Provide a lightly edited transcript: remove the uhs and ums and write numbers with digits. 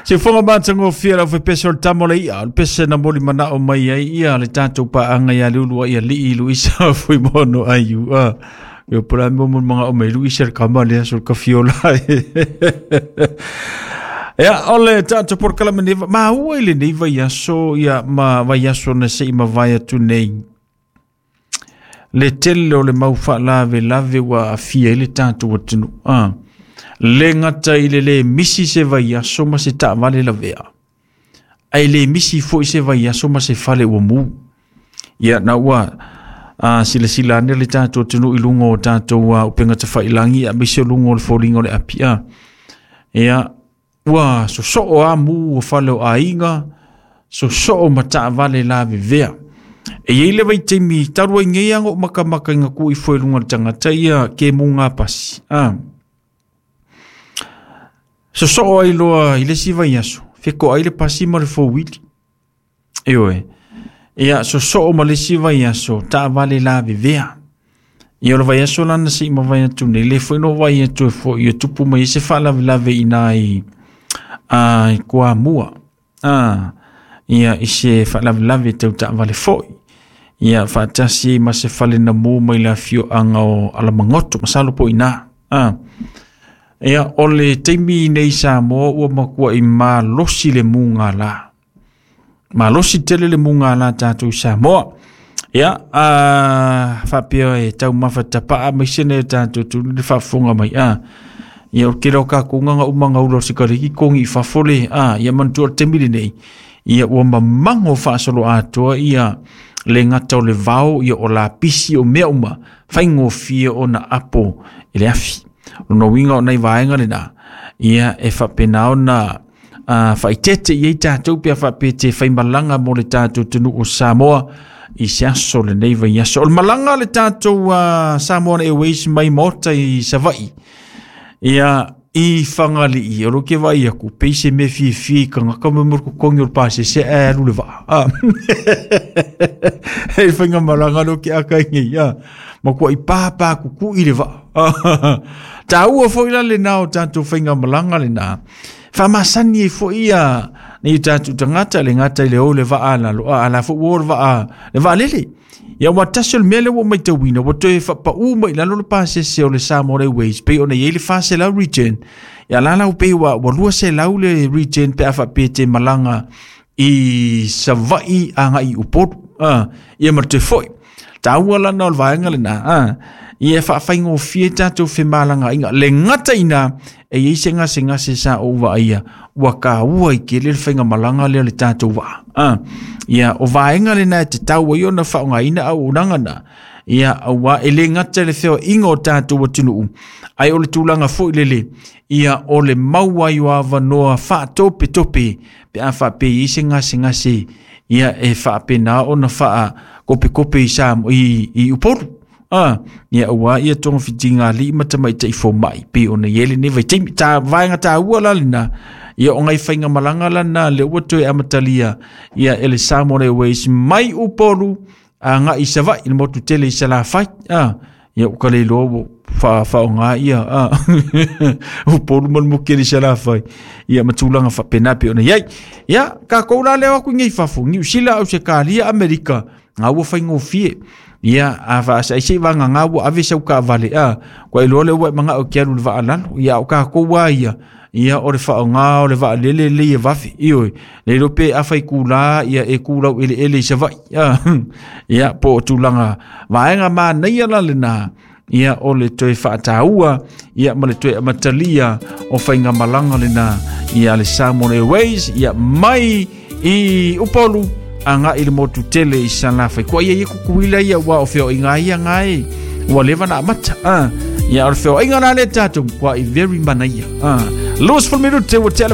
Siufoga matagofie lau fepese o le tama o le i'a, o le pese na moli mana'o mai ai ia le tatou paaga ia Leulu ai alii Luisa Fuimono aiu a. Ia pula mo mo manga o mai Luisa le kama le aso ka fiola. Ia, o le tatou polokalame nei, ma ua i lenei vaiaso, ia ma vaiaso na se i mavae atu nei. Le tele o le mau faalavelave ua aafia ai le tatou atunuu. A, le gata i le lē misi se vaiaso ma se taavale lavea, ae le misi foi se vaiaso ma se fale ua mu. Ia, na ua silasila ane le tatou atunuu i luga o tatou upega tafailagi, aemaise o luga o le foliga o le api. A, ia, ua sosoo a mu o fale o aiga, sosoo ma taavale lavevea. E iai le vaitaimi talu ai nei aga o makamaka i ngā ifo i luga o le tagata ia ke mu ngā pasi. A, sosoo ai loa i le isi vaiaso, fekoai le pasi ma le fouili. Ioe. Ia, sosoo ma le isi vaiaso, taavale lavevea. Ia, o le vaiaso lana se i mavae atu nei, le foi no vai atu e foi, ia tupu mai ai se faalavelave i nā i, i Kuamua. A, ia, i se faalavelave tau taavale foi. Ia, faatasi ai ma se fale na mu mai le afioaga o Alamagoto, masalo po i nā. A, ia, o le taimi nei Samoa ua makuai malosi le mugala. Malosi tele le mugala tatou i Samoa. Ia, faapea e taumafa tapa'a maise nei o tatou tulu le faafofoga mai. A, ia, o le tele o tatou gaga uma gaula o sikariki kogi i fafo le, a, ia manatua o le taimi lenei, ia ua mamago faasoloatoa ia le gata o le vao, ia o lapisi o mea uma, faigofie ona apo i le afi. O lona uiga o nai vaega lena, ia e faapena ona faaeteete i ai tatou pe a faapea te faimalaga mo le tatou atunuu o Samoa i se aso lenei vaiaso. O le malaga a le tatou Samoa Airways mai Maota i Savaii, ia i Fagalii, o lo ke vaai aku, pei se mea fiafia i tagata mo mo totogi o le pasese ae alu le vaa. Ah. Hei whainga malaga lo ke aka i nei, ah. Ma kua i pāpā kuku i le vaa. Ah. Tāua foi la le nā o tātou whainga malaga le nā. Whaamasani e foi ia nei o tātou tagata le gata i le o le vaa lalo, a la foi ua o le vaa, le vaa lele. Ia ua tasi o le mea lea ua matauina, ua toe faapau mai i lalo le pasese o le Samoa Airways, pei ona i ai le 400 return. Ia la lau pei ua 200 le return pe a faapea te malaga i Savaii agai i Upolu. Ia ma le toe foi. Taua lana o le vaega lena. Ia e faafaigofie tatou femalagaaiga. Le gata i ina, e i ai se gasegase sa ou vaaia, ua taua i tele le faigamalaga lea o le tatou vaa. Ia, o vaega lena e tatau ai ona faaaogaina auaunaga na. Ia, aua e le gata i le feoaiga o tatou atunuu, ae o le tulaga foi lele, ia o le mau ai o avanoa faatopetope pe a faapea i ai se gasegase, ia e faapena ona faakopekope i Samoa, i Upolu. A, ia aua ia togafitiga alii ma tamaitai fomai pei ona i ai lenei vaitaimi. Ta vaega taua la lena, ia o ngai faigamalaga lana lea ua toe amatalia ia e le Samoa Airways mai Upolu agai i Savaii, le motu tele i Salafai. A, ia ua ka le iloa ua faaoga ia a Upolu ma le motu tele i Salafai, ia ma tulaga faapena pei ona i ai. Ia, tatou la lea o atu i nei fafo, Niu Sila, Ausetalia, Amerika, ngā ua faigofie. Ia, a faasai se i vagagā ua ave sau taavale, a, kua iloa lea ua e mana'o e te alu i le vaa lalo. Ia, a o tatou lava ia, ia o le faaaoga o le vaalele lelei e vave. Ioe, le iloa pe afa itulā, ia e tu laueleele i Savaii. A, ia, po o tulaga vaega manaia la lena, ia o le toe faataua, ia ma le toe amatalia o faigamalaga lena, ia le Samoa Airways, ia mai i Upolu agai i le motu tele i Salafai. Kua ia ia kukuila ia ua o feoaiga ia ngae ua leva na amata. Ia o le feoaiga la le tatou kua i very manaia. 20 minute ua tele.